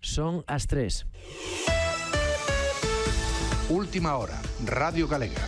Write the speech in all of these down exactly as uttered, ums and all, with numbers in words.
Son as tres. Última hora, Radio Galega.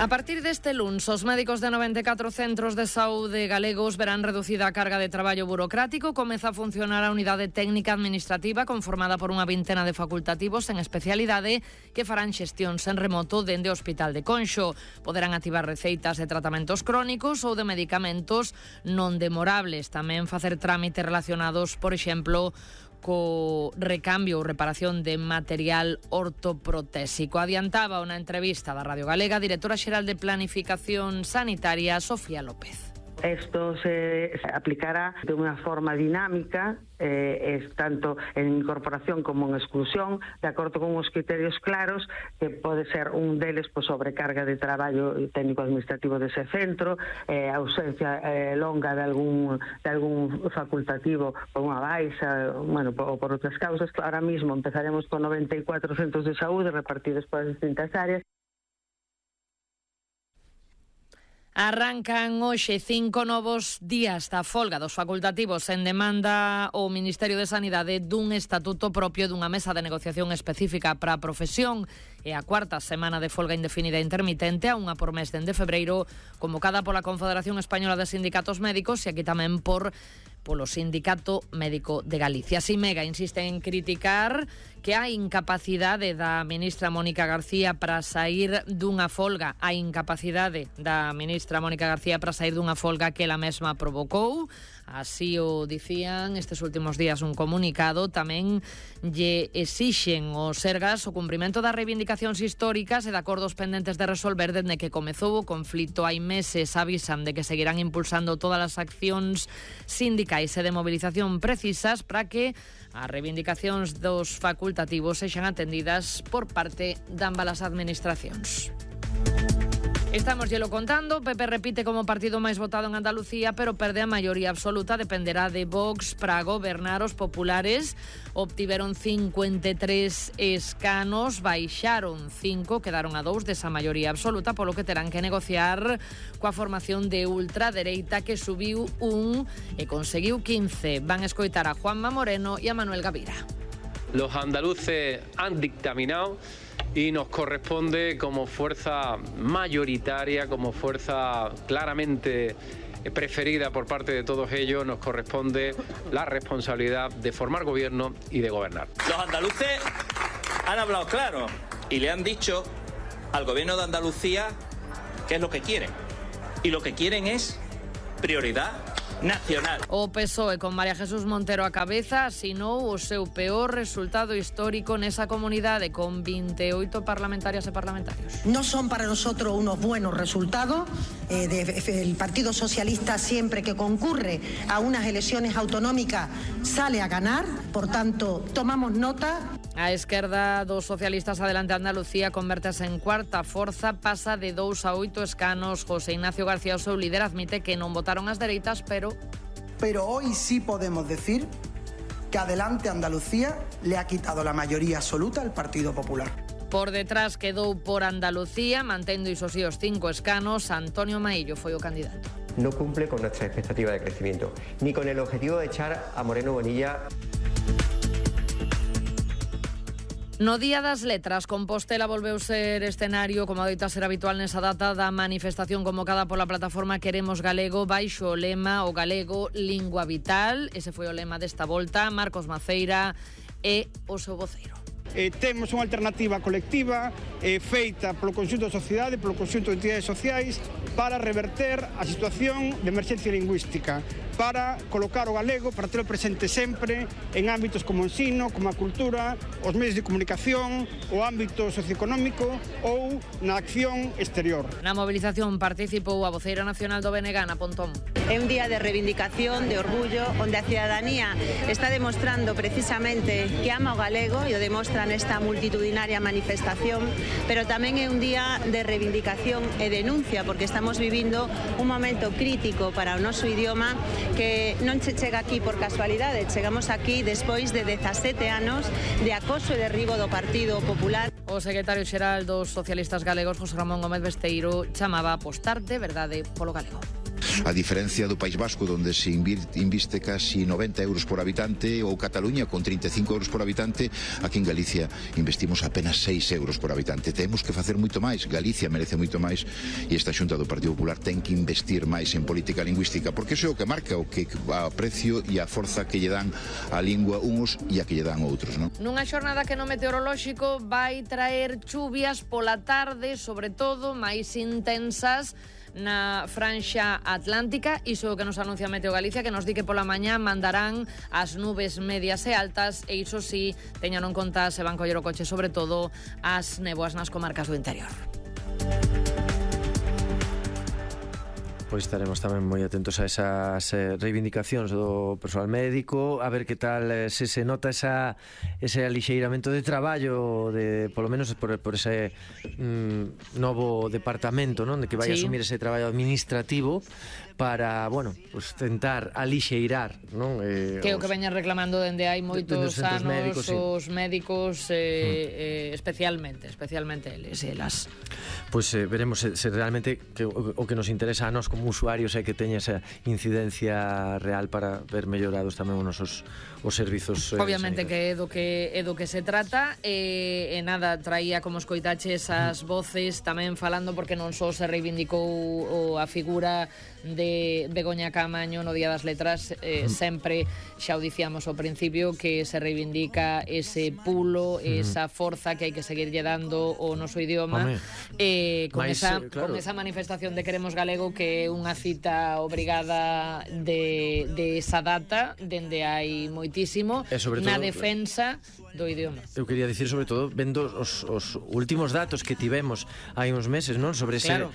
A partir deste luns, os médicos de noventa e catro centros de saúde galegos verán reducida a carga de traballo burocrático. Comeza a funcionar a unidade técnica administrativa conformada por unha vintena de facultativos en especialidade que farán xestións en remoto dende o Hospital de Conxo. Poderán activar receitas de tratamentos crónicos ou de medicamentos non demorables. Tamén facer trámites relacionados, por exemplo, co recambio ou reparación de material ortoprotésico. Adiantaba unha entrevista da Radio Galega a directora xeral de Planificación Sanitaria, Sofía López. Esto se aplicará de una forma dinámica, eh, es tanto en incorporación como en exclusión, de acordo con unos criterios claros, que pode ser un deles por sobrecarga de traballo técnico-administrativo dese centro, eh, ausencia eh, longa de algún, de algún facultativo por unha baixa, bueno, por, por outras causas. Ahora mismo empezaremos con noventa e catro centros de saúde repartidos por as distintas áreas. Arrancan hoxe cinco novos días da folga dos facultativos en demanda o Ministerio de Sanidade dun estatuto propio dunha mesa de negociación específica para a profesión e a cuarta semana de folga indefinida e intermitente a unha por mes dende febreiro, convocada pola Confederación Española de Sindicatos Médicos e aquí tamén por polo Sindicato Médico de Galicia. Simega insiste en criticar que a incapacidade da ministra Mónica García para sair dunha folga, a incapacidade da ministra Mónica García para sair dunha folga que ela mesma provocou. Así o dicían estes últimos días un comunicado. Tamén lle exixen os Sergas o cumprimento das reivindicacións históricas e de acordos pendentes de resolver dende que comezou o conflito hai meses. Avisan de que seguirán impulsando todas as accións sindicais e de movilización precisas para que as reivindicacións dos facultativos sexan atendidas por parte de ambas as administracións. Estamos llelo contando. P P repite como partido máis votado en Andalucía, pero perde a maioría absoluta. Dependerá de Vox para gobernar. Os populares obtiveron cincuenta e tres escanos, baixaron cinco, quedaron a dous desa maioría absoluta, polo que terán que negociar coa formación de ultradereita que subiu un e conseguiu quince. Van a escoitar a Juanma Moreno e a Manuel Gavira. Los andaluces han dictaminado y nos corresponde como fuerza mayoritaria, como fuerza claramente preferida por parte de todos ellos, nos corresponde la responsabilidad de formar gobierno y de gobernar. Los andaluces han hablado claro y le han dicho al gobierno de Andalucía qué es lo que quieren. Y lo que quieren es prioridad nacional. O P S O E con María Jesús Montero a cabeza asinou o seu peor resultado histórico nesa comunidade con vinte e oito parlamentarias e parlamentarios. No son para nosotros unos buenos resultados. Eh, de, el Partido Socialista siempre que concurre a unas elecciones autonómicas sale a ganar, por tanto tomamos nota. A esquerda dos socialistas Adelante Andalucía convértese en cuarta forza, pasa de dous a oito escanos. José Ignacio García, o seu líder, admite que non votaron as dereitas, pero... Pero hoy sí podemos decir que Adelante Andalucía le ha quitado la mayoría absoluta al Partido Popular. Por detrás quedou por Andalucía, mantendo iso sí os cinco escanos. Antonio Maillo foi o candidato. No cumple con nuestra expectativa de crecimiento, ni con el objetivo de echar a Moreno Bonilla. No Día das Letras, Compostela volveu ser escenario, como adoita ser habitual nesa data, da manifestación convocada pola plataforma Queremos Galego, baixo o lema o galego lingua vital. Ese foi o lema desta volta. Marcos Maceira é o seu voceiro. Eh, temos unha alternativa colectiva eh, feita polo conxunto da sociedade, polo conxunto de entidades sociais, para reverter a situación de emerxencia lingüística, para colocar o galego, para telo presente sempre en ámbitos como o ensino, como a cultura, os medios de comunicación, o ámbito socioeconómico ou na acción exterior. Na mobilización participou a voceira nacional do B N G, Ana Pontón. É un día de reivindicación, de orgullo, onde a cidadanía está demostrando precisamente que ama o galego e o demostra nesta multitudinaria manifestación, pero tamén é un día de reivindicación e denuncia, porque estamos vivindo un momento crítico para o noso idioma que non se chega aquí por casualidade, chegamos aquí despois de dezasete anos de acoso e derribo do Partido Popular. O secretario xeral dos socialistas galegos, José Ramón Gómez Besteiro, chamaba a apostar de verdade polo galego. A diferencia do País Vasco, donde se inviste casi noventa euros por habitante, ou Cataluña con trinta e cinco euros por habitante, aquí en Galicia investimos apenas seis euros por habitante. Temos que facer moito máis, Galicia merece moito máis, e esta Xunta do Partido Popular ten que investir máis en política lingüística, porque iso é o que marca o que a precio e a forza que lle dan a lingua uns e a que lle dan outros, non? Nunha xornada que no meteorolóxico vai traer chuvias pola tarde, sobre todo máis intensas na franxa atlántica. Iso que nos anuncia Meteo Galicia, que nos di que pola mañá mandarán as nubes medias e altas, e iso sí, teñan en conta se van coller o coche, sobre todo as néboas nas comarcas do interior. Pois estaremos tamén moi atentos a esas eh, reivindicacións do persoal médico, a ver que tal eh, se se nota esa, ese alixeiramento de traballo, de, polo menos por, por ese mm, novo departamento, non, de que vai sí. asumir ese traballo administrativo para, bueno, pues tentar alixeirar, non? Eh, que é o que veñan reclamando dende hai moitos de, anos médicos, os sí. médicos eh, mm. eh, especialmente, especialmente eles e elas. Pois pues, eh, veremos se, se realmente que, o, o que nos interesa a nós como usuarios é que teña esa incidencia real para ver mellorados tamén os nosos os servizos eh, obviamente sanitarios. Que é do que é do que se trata e, e nada, traía como escoitaches as voces tamén falando, porque non só se reivindicou o, a figura de Begoña Caamaño no Día das Letras, eh, sempre xa o dicíamos ao principio que se reivindica ese pulo, esa forza que hai que seguirlle dando o noso idioma. Eh, con, Mais, esa, claro. con esa manifestación de Queremos Galego, que é unha cita obrigada de, de esa data dende hai moitísimo na defensa do idioma. Eu quería dicir, sobre todo, vendo os, os últimos datos que tivemos hai uns meses, non, sobre ese claro.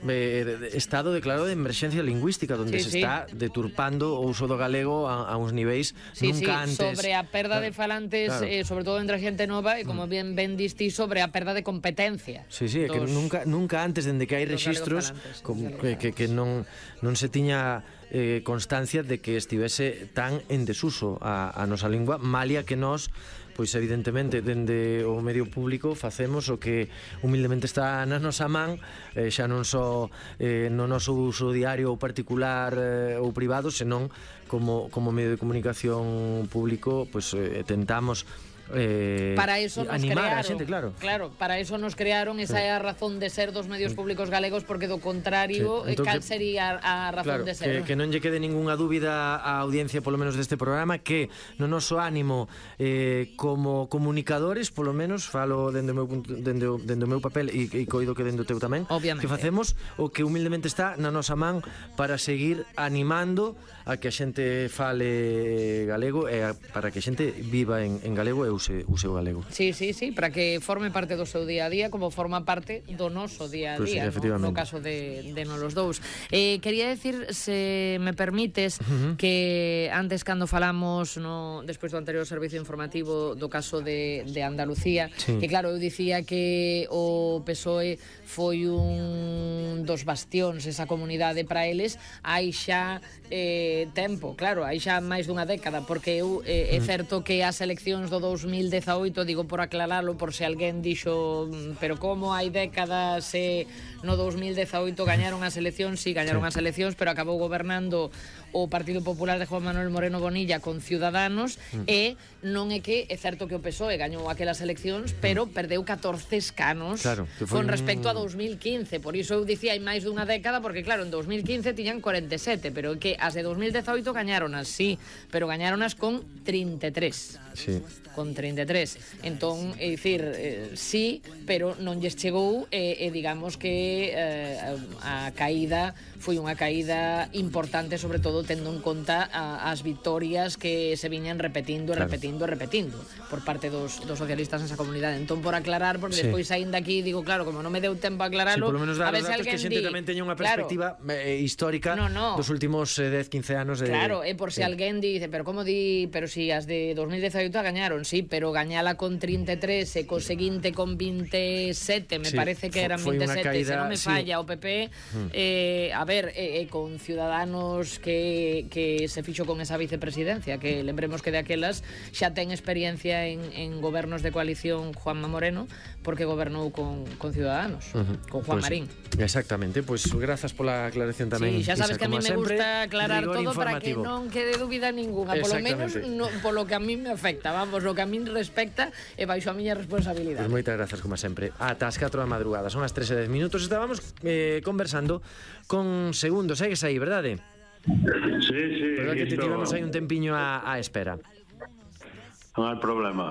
eh, estado declarado de emerxencia lingüística, onde sí, se sí. está deturpando o uso do galego a, a uns niveis sí, nunca sí, antes. Sobre a perda de falantes, claro. eh, sobre todo entre a xente nova, e como bien ben distí, sobre a perda de competencia. Sí, sí, dos, que nunca nunca antes, dende que hai registros como, que, que, que non, non se tiña eh, constancia de que estivese tan en desuso a, a nosa lingua, malia que nós pois evidentemente dende o medio público facemos o que humildemente está na nosa man, eh, xa non só eh, no noso uso diario ou particular eh, ou privado, senón como, como medio de comunicación público, pois eh, tentamos Eh, para eso nos animar crearon, a xente, claro. Claro, para eso nos crearon, esa é sí. a razón de ser dos medios públicos galegos, porque do contrario, sí. entón, cal sería a razón claro, de ser? Que, que non lle quede ningunha dúbida á audiencia, polo menos deste programa, que no noso ánimo eh, como comunicadores, polo menos falo dende o meu, dende o, dende o meu papel e, e coido que dende o teu tamén, obviamente, que facemos o que humildemente está na nosa man para seguir animando a que a xente fale galego e a, para que a xente viva en, en galego e use, use o galego. Sí, sí, sí, para que forme parte do seu día a día, como forma parte do noso día a día, pues sí, no, no caso de, de non los dous. Eh, quería decir, se me permites, uh-huh. que antes cando falamos no, despois do anterior servicio informativo do caso de, de Andalucía, sí. que claro, eu dicía que o P S O E foi un dos bastións, esa comunidade para eles, hai xa eh, tempo, claro, hai xa máis dunha década, porque eu eh, é certo que as eleccións do dous mil dezaoito, digo por aclaralo, por se alguén dixo, pero como hai décadas se no dous mil dezaoito gañaron as eleccións, si, sí, gañaron sí. as eleccións, pero acabou gobernando o Partido Popular de Juan Manuel Moreno Bonilla con Ciudadanos, mm. e non é que é certo que o P S O E gañou aquelas eleccións, pero mm. perdeu catorce escanos, claro, con respecto un... a dous mil quince, por iso eu dicía hai máis dunha década, porque claro, en dous mil quince tiñan cuarenta e sete, pero que as de dous mil dezaoito gañaronas, sí, pero gañaronas con trinta e tres. Sí. Con trinta e tres. Entón, é dicir, eh, sí, pero non lles chegou, e eh, eh, digamos que eh, a caída foi unha caída importante, sobre todo tendo en conta a, as victorias que se viñan repetindo, claro. repetindo, repetindo por parte dos, dos socialistas nesa comunidade. Entón, por aclarar, porque sí. despois saíndo aquí digo, claro, como non me deu tempo a aclararlo, sí, por lo menos a ver se alguén que a xente di, tamén teña unha perspectiva claro, eh, histórica no, no. dos últimos eh, dez, quince anos de... Claro, é eh, por se sí. alguén dice, pero como di, pero si as de dous mil dezaoito gañaron, sí, pero gañala con trinta e tres e co seguinte con vinte e sete, me sí, parece que eran vinte e sete, caída, se non me falla sí. o P P, mm. eh, a ver, eh, eh, con Ciudadanos que é que, que se fixo con esa vicepresidencia, que lembremos que de aquelas xa ten experiencia en, en gobernos de coalición Juanma Moreno, porque gobernou con, con Ciudadanos, uh-huh. con Juan pues, Marín. Exactamente, pois pues, grazas pola aclaración tamén. Sí, xa sabes Isa, que a mí me sempre, gusta aclarar todo informativo. para que non quede dúbida ninguna, polo menos no, polo que a mí me afecta, vamos, lo que a mí respecta e baixo a miña responsabilidade. Pois pues moitas grazas, como sempre. Ata as catro da madrugada, son as tres e dez minutos, estábamos eh, conversando con Segundo, segues aí, verdade? Sí, sí. Verdad que te tivemos aí un tempiño a, a espera. Non hai problema.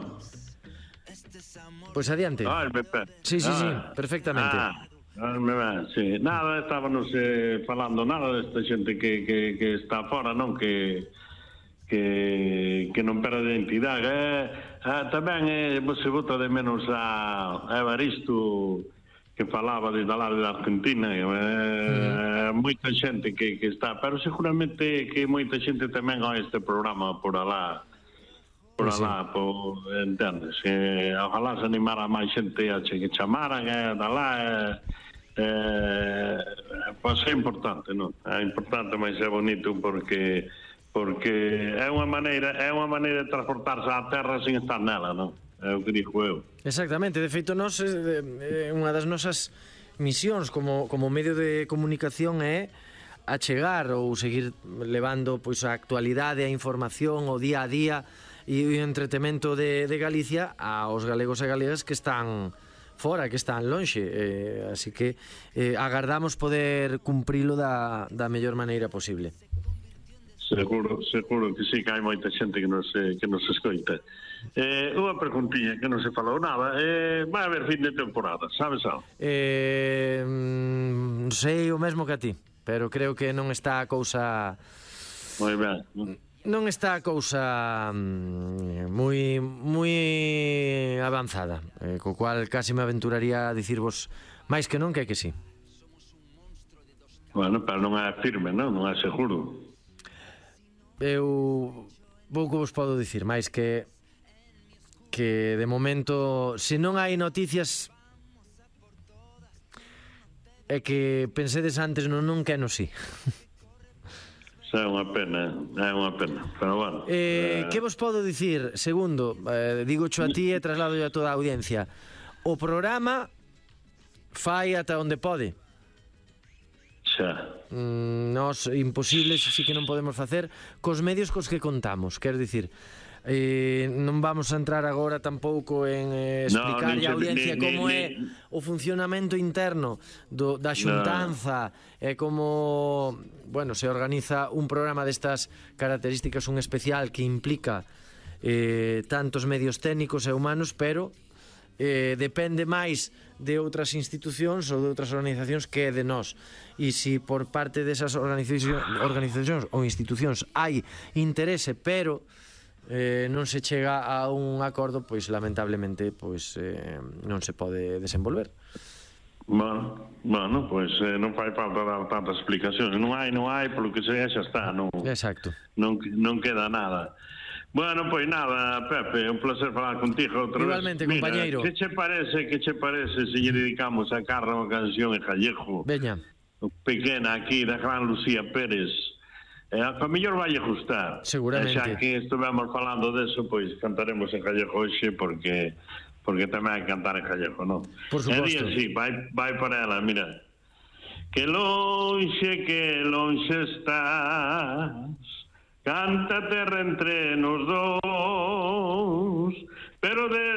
Pois pues adiante. Ah, el Pepe. Sí, sí, ah. sí, perfectamente. Ah, ah, sí. Nada, estábamos eh, falando nada desta xente que, que, que está fora, non? Que que, que non perde identidade. Eh, eh, tamén eh, se vota de menos a, a Evaristo, que falaba desde lá de Argentina, eh, mm. moita xente que, que está, pero seguramente que moita xente tamén a este programa por alá, por pues alá, sí. por, entendes? Eh, ojalá se animara máis xente a che que chamaran, eh, de lá, eh, eh, pois é importante, non? É importante, mas é bonito porque porque é unha maneira, é unha maneira de transportarse á terra sin estar nela, non? É o que digo eu. Exactamente, de feito nós eh, unha das nosas misións como, como medio de comunicación é achegar ou seguir levando pois a actualidade, a información, o día a día e o entretemento de, de Galicia aos galegos e galegas que están fora, que están lonxe, eh, así que eh, agardamos poder cumprilo da, da mellor maneira posible. Seguro, seguro que sí, que hai moita xente que nos, que nos escoita. Eh, unha preguntinha que non se falou nada. Eh, vai haber fin de temporada, sabes algo? Eh, non sei o mesmo que a ti, pero creo que non está a cousa... Moi ben. Non está a cousa moi moi avanzada, eh, co cual casi me aventuraría a dicirvos máis que non que é que sí. Bueno, pero non é firme, non? Non é seguro. Eu pouco vos podo dicir máis que que de momento se non hai noticias é que pensedes antes no non que no sí. É unha pena, é unha pena, pero bueno. Eh, eh... Que vos podo dicir? Segundo, eh, digo cho a ti e traslado a toda a audiencia. O programa fai ata onde pode. Xa. Mm, nos imposibles sí que non podemos facer cos medios cos que contamos, quero dicir, eh, non vamos a entrar agora tampouco en eh, explicar no, a audiencia ni, como ni, é ni... o funcionamento interno do, da xuntanza, é no. como bueno, se organiza un programa destas características, un especial que implica eh, tantos medios técnicos e humanos, pero eh, depende máis de outras institucións ou de outras organizacións que de nós. E se por parte desas organizacións, organizacións ou institucións hai interese, pero eh, non se chega a un acordo, pois lamentablemente pois eh, non se pode desenvolver. Bueno, bueno, pois eh, non fai falta dar tantas explicacións. Non hai, non hai, polo que sea, xa está. Non, Exacto. Non, non queda nada. Bueno, pois nada, Pepe, un placer falar contigo outra Igualmente, vez. Mira, compañeiro. Que che parece, que che parece se lle dedicamos a Carla unha canción en gallego? Veña. Pequena aquí, da gran Lucía Pérez. Eh, a mellor vai gustar. Seguramente. E xa que estuvemos falando deso, pois cantaremos en gallego hoxe porque porque tamén hai que cantar en gallego, non? Por suposto. E di así, vai, vai para ela, mira. Que lonxe, que lonxe estás, canta terra entre nos dous, pero de